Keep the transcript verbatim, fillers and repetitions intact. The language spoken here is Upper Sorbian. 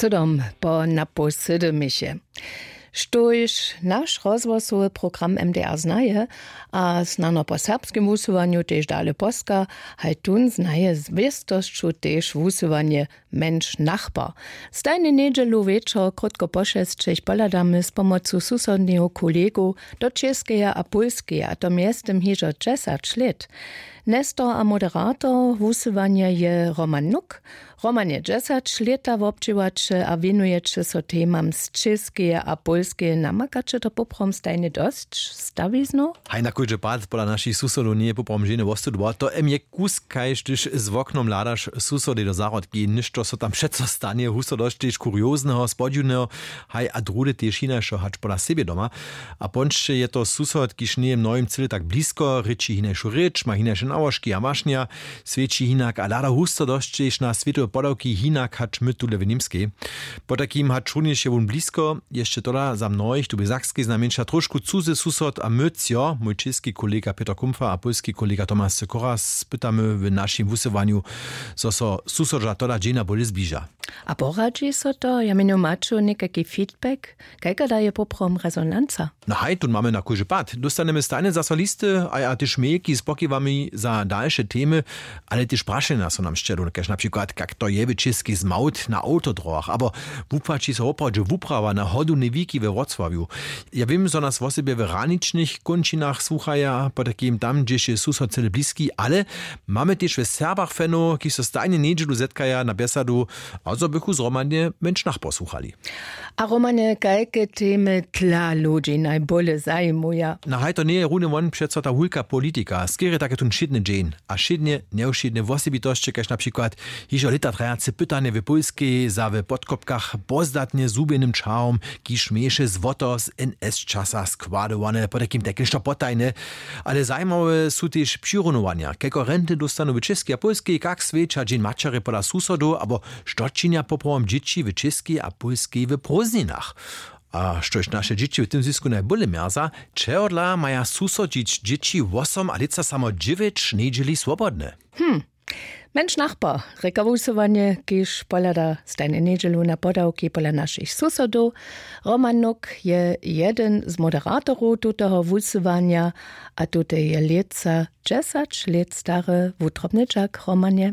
Sydom po napoł sydymiše, štóž naš rozhłosowy program mdr znaje a snano po serbskim wusyłanju tež dale poska, haj tón znaje z wěstosću tež wusyłanje mjenš nachbar. Stajnje njedźelu wječor krótko po šesćich pohladamy z pomocu susodneho kolegow do čěskeje a pólskeje, a to mjeztym hižo dźesać lět. Nestor a moderator wusyłanja je Roman Nuk. Roman je dźesać lěta wobdźěłaće a wěnujeće so temam z čěskeje a pólskeje. Namakaće to poprawom stajnje dosć stawiznow? Haj, na kóždy pad pola našich susodow njeje poprawom ženje wostudła, to em je kusk kaž hdyž z woknom hladaš susodow do zahrodki, něšto so tam přeco stanje, husto dosć tež kuriozneho, spodźiwneho, haj a druhdy tež hinašo hač pola sebje doma. A pončće je to susod, kiž njeje mnohim cyle tak blisko, rěči hinašu rěč, ma hinaše nałožki a wašnja, swjeći hinak a hlada husto dosć tež na swětowe podawki hinak hač my tule w Němskej. Potajkim hač runjež je wón blisko, je hišće tola za mnohich tu w Sakskej znajmjeńša trošku cuzy susod a my třo, mój čěski kolega Pětr Kumpfer a pólski kolega Tomaš Sykora, spytamy w našim wusyłanju, zo so susodźa tola dźenja bóle zbliža. A poradźi so to? Ja měnju, maću někajki feedback? Kajka daje poprawom rezonanca? No haj, tón mamy na kóždy pad. Dóstanemy stajnje zaso listy a, a tež mailki z pokiwami za dalše temy, ale tež prašenja so nam sćedu, kaž na přikład, kak to je w Čěskej z małt na awtodrogach, abo wupłaći so woprawdźe wuprawa na hodownej wiki we Wrocławju. Ja wěm, zo nas wosebje w hraničnych kónčinach słuchaja, potajkim tam, hdźež je susod cyle bliski, ale mamy tež w Serbach fanow, kiž so stajnje njedźelu zetkaja na bjesadu, a zo bychu zhromadnje mjenš nachbar słuchali. A Romanje, kajke temy dla ludźi najbóle zajimuja? Na haj, to njeje runje wón přeco ta wulka politika, skerje tak je tón wšědny dźeń a wšědnje njewšědne wosebitosće, kaž na přikład hižo lěta trajace pytanje w Pólskej za w Podkopkach pozdatnje zhubjenym čahom, kiž měješe złoto z N S časa składowane, potajkim tajke něšto potajne. Ale zajimawe su tež přirunowanja, kajko renty dóstanu w Čěskej a Pólskej, kak swjeća Dźeń maćerje pola susodow, abo što činja poprawom dźěći w Čěskej a Pólskej w prózdninach. A štož naše dźěći w tym zwisku najbóle mjerza, čehodla maja susodźić dźěći wosom a lětsa samo dźewjeć njedźeli swobodne? Hm. Mjenš nachbar, rěka wusyłanje, kiž pohlada stajnje njedźelu na podawki pola našich susodow. Roman Nuk je jedyn z moderatorow tutoho wusyłanja a tute je lětsa dźesać lět stary wutrobny dźak. Romanje,